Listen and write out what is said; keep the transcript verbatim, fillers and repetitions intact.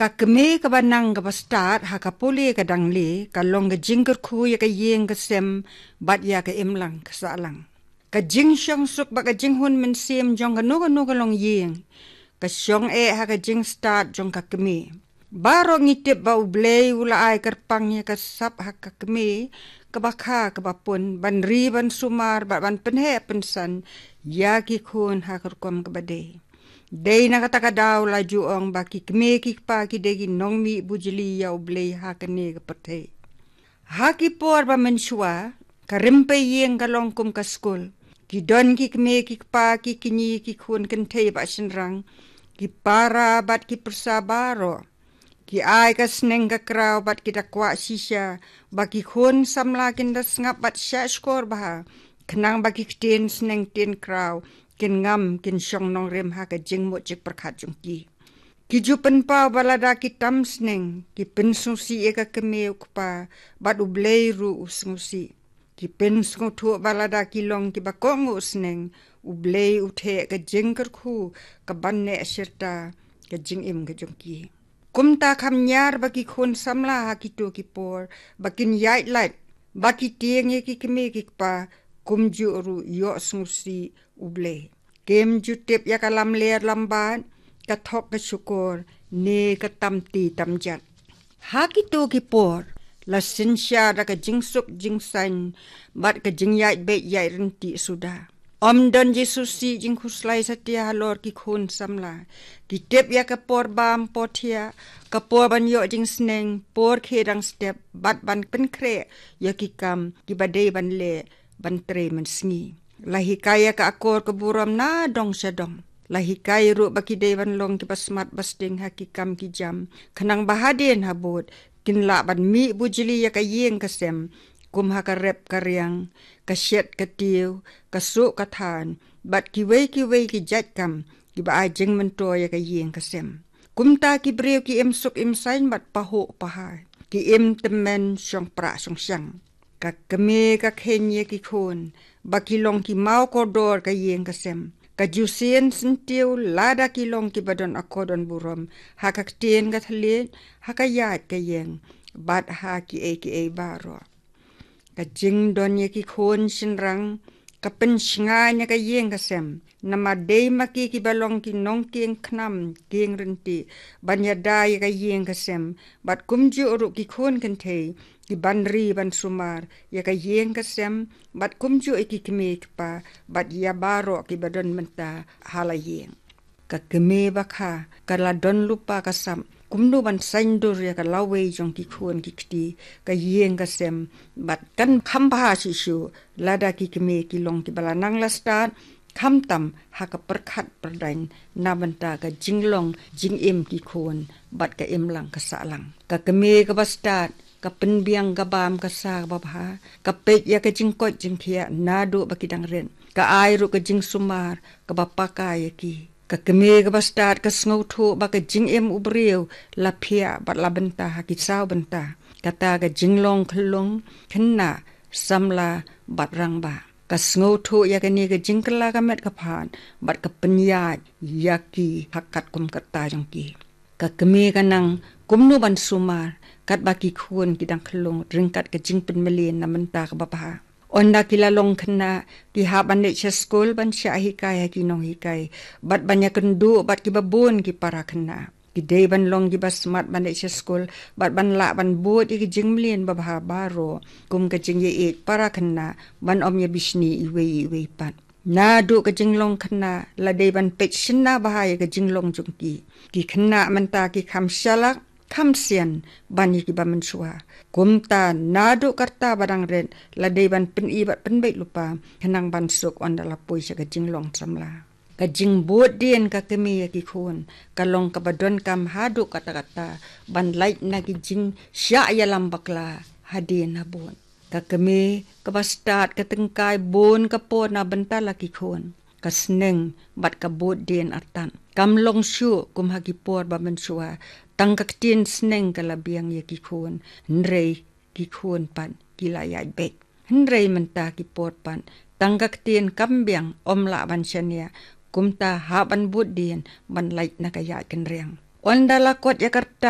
Ka kmie kaba nang kaba stad ha ka pule ka dang le, ka long ka jingkyrkhu ïa ka ïing ka sem bad ïa ka imlang ka sahlang. Ka jingshongsuk bad ka jinghun mynsiem jong kano kano ka longïing ka shong eh ha ka jingstad jong ka kmie. Baroh ngi tip ba U Blei u la ai kyrpang ïa ka sap ha ka kmie kaba kha kaba pun, ban ri ban sumar bad ban pynheh pynsan ïa ki khun ha ka rukom kaba dei. Dei na kata ka daw la ju ong ba ki kmie ki kpa ki dei ki nongmih bujli ïa U Blei ha kane ka pyrthei. Ha ki por ba mynshuwa, ka rympei ïing ka long kum ka skul. Ki don ki kmie ki kpa, ki kñi ki khun kynthei bad shynrang, ki para bad ki pyrsa baroh. Ki ai ka sneng ka kraw bad ki da kwah shisha ba ki khun samla kin da sngap bad shah shkor bha, khnang ba ki ktien sneng ktien kraw kin ngam, kin shong nongrim ha ka jingmut jingpyrkhat jong ki. Ki ju pynpaw ba lada ki tam sneng, ki pynsngewsih ïa ka kmie u kpa, bad U Blei ruh u sngewsih. Ki pynsngewthuh ba lada ki long kiba kohnguh sneng, U Blei u theh ka jingkyrkhu kaban neh shirta ka jingim ka jong ki. Kumta kham ñiar ba ki khun samla ha kito ki por ba kin ïaid lait, ba ki tieng ïa ki kmie ki kpa, kumjuh ruh ïoh sngewsih U Blei. Kim ju tip ïa ka lamler lambad, ka thok ka shukor, ne ka tam ti tam jat. Ha kito ki por la synshar da ka jingsuk jingsaiñ bad ka jingïaid beit ïaid ryntih suda. Ym don jingsngewsih jingkhuslai satia halor ki khun samla. Ki tip ïa ka por bam por thiah, ka por ban ïoh jingsneng, por khie dang step, bad ban pynkhreh ïa ki kam kiba dei ban leh ban trei mynsngi. La hikai ïa ka akor ka burom na dong sha dong. La hikai ruh ba ki dei ban long kiba smat ba sting ha ki kam ki jam, khnang ba hadien habud kin lah ban mih bujli ïa ka ïing ka sem, kum ha ka rep ka riang, ka shet ka tiew, ka suh ka than, bad kiwei kiwei ki jait kam kiba ai jingmyntoi ïa ka ïing ka sem. Kumta ki briew ki im suk im saiñ bad pahuh pahai, ki im tymmen shong prah shong shang. Ka kmie ka kheiñ ïa ki khun ba ki long ki maw kordor ka ïing ka sem. Ka ju sien syntiew lada ki long kiba don akor don burom ha ka ktien ka thylliej, ha ka ïaid ka ïeng, bad ha kiei kiei baroh. Ka jingdon ïa ki khun shynrang ka pynshngaiñ ïa ka ïing ka sem. Namar dei ma ki kiba long ki nongkieng khnam kieng ryntih ban ïada ïa ka ïing ka sem, bad kumjuh ruh ki khun kynthei kiban ri ban sumar ïa ka ïing ka sem, bad kumjuh ïa ki kmie ki kpa, bad ïa baroh kiba don mynta ha la ïing. Ka kmie ba kha ka la don lypa ka sap kumno ban saiñdur ïa ka lawei jong ki khun ki kti, ka ïing ka sem, bad kan kham bha shisha lada ki kmie ki long kiba la nang la stad, khamtam ha ka pyrkhat pyrdaiñ na bynta ka jinglong jingim ki khun bad ka imlang ka sahlang. Ka kmie kaba stad ka pynbiang ka bam ka sa kaba bha, ka peit ïa ka jingkoit jingkhiah naduh ba ki dang rit, ka ai ruh ka jingsumar kaba paka ïa ki. Ka kmie kaba stad ka sngewthuh ba ka jingim u briew la phiah bad la bynta ha ki saw bynta, kata ka jinglong khyllung khynnah, samla bad rangbah. Ka sngewthuh ïa kane ka jingkylla ka met ka phad bad ka pynïaid ïa ki ha katkum ka rta jong ki. Ka kmie ka nang kumno ban sumar katba ki khun ki dang khyllung ryngkat ka jingpynmlien na bynta kaba bha. Ynda ki la long khynnah, ki hap ban leit sha skul ban shah hikai ha ki nonghikai bad ban ïakynduh bad kiba bun ki para khynnah. Ki dei ban long kiba smat ban leit sha skul bad ban lah ban bud ïa ki jingmlien babha baroh, kum ka jingïaieit para khynnah, ban ym ïabishni iwei iwei pat. Naduh ka jinglong khynnah la dei ban peit shynna bha ïa ka jinglong jong ki. Ki khynnah mynta ki kham shalak, kham sian ban ïa kiba mynshuwa. Kumta naduh ka rta ba dang rit la dei ban pyni bad pynbeit lypa khnang ban suk ynda la poi sha ka jinglong samla. Ka jingbud dien ka kmie ïa ki khun ka long kaba donkam haduh katta katta ban lait na ki jingshah ïalam bakla hadien habud. Ka kmie kaba stad ka tyngkai bun ka por na bynta la ki khun, ka sneng bad ka bud dien artat. Kam long shuh kum ha ki por ba mynshuwa, tang ka ktien sneng ka la biang ïa ki khun, hynrei ki khun pat ki la ïaid beit. Hynrei mynta ki por pat tang ka ktien kam biang, ym lah ban shaniah, kumta hap ban bud dien ban lait na ka ïaid kynriang. Ynda la kot ïa ka rta